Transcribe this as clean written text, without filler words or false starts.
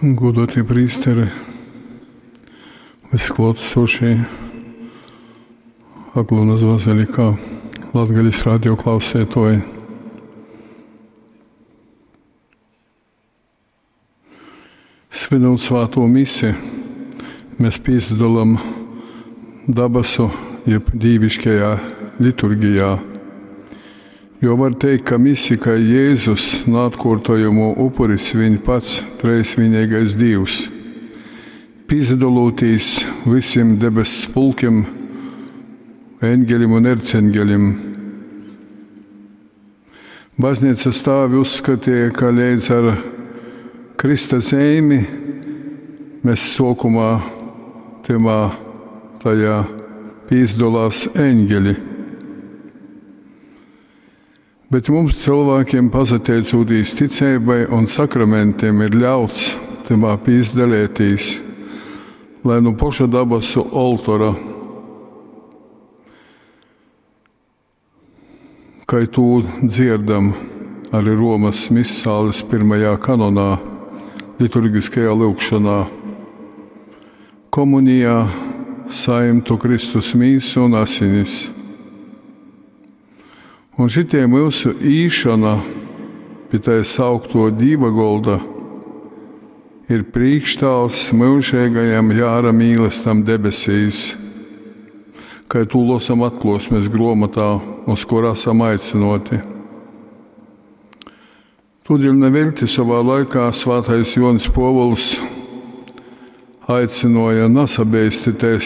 Godātie prīsteri, visi klātesošie Aglonas bazilikā, Latgales radio klausētoji. Svinot svāto misi, mēs pīsadalām dabasu jeb dīviškajā liturgijā. Jo var teikt, ka misi, kai Jēzus naatkuortojamo upuri svin pats treisvienīgais Dīvs. Pīsadalūtīs visiem debess pulkiem, eņgelim un erceņgelim. Baznīcas tēvi uzskatīja, ka līdz ar Krista zīmi mēs sokumā timā tajā pīzdolās eņģeļi. Bet mums cilvēkiem, pasateicūtīs ticībai un sakramentiem, ir ļauts timā pīzdalētīs, lai nu poša dabasu oltora, kai tū dzierdam arī Romas misāles pirmajā kanonā, liturgiskajā lūgšanā. Komunijā saimtu Kristus mīsu un asinis. Un šitie mūsu īšana pie tā saukto Dīva golda ir priekštāls mūžīgajam jāra mīlestam debesīs, kai tū losam atklosmes gromotā, uz kur esam aicinoti. Tūdēļ nevelti savā laikā svētais Jonis Povuls aicināja nesabeistieties.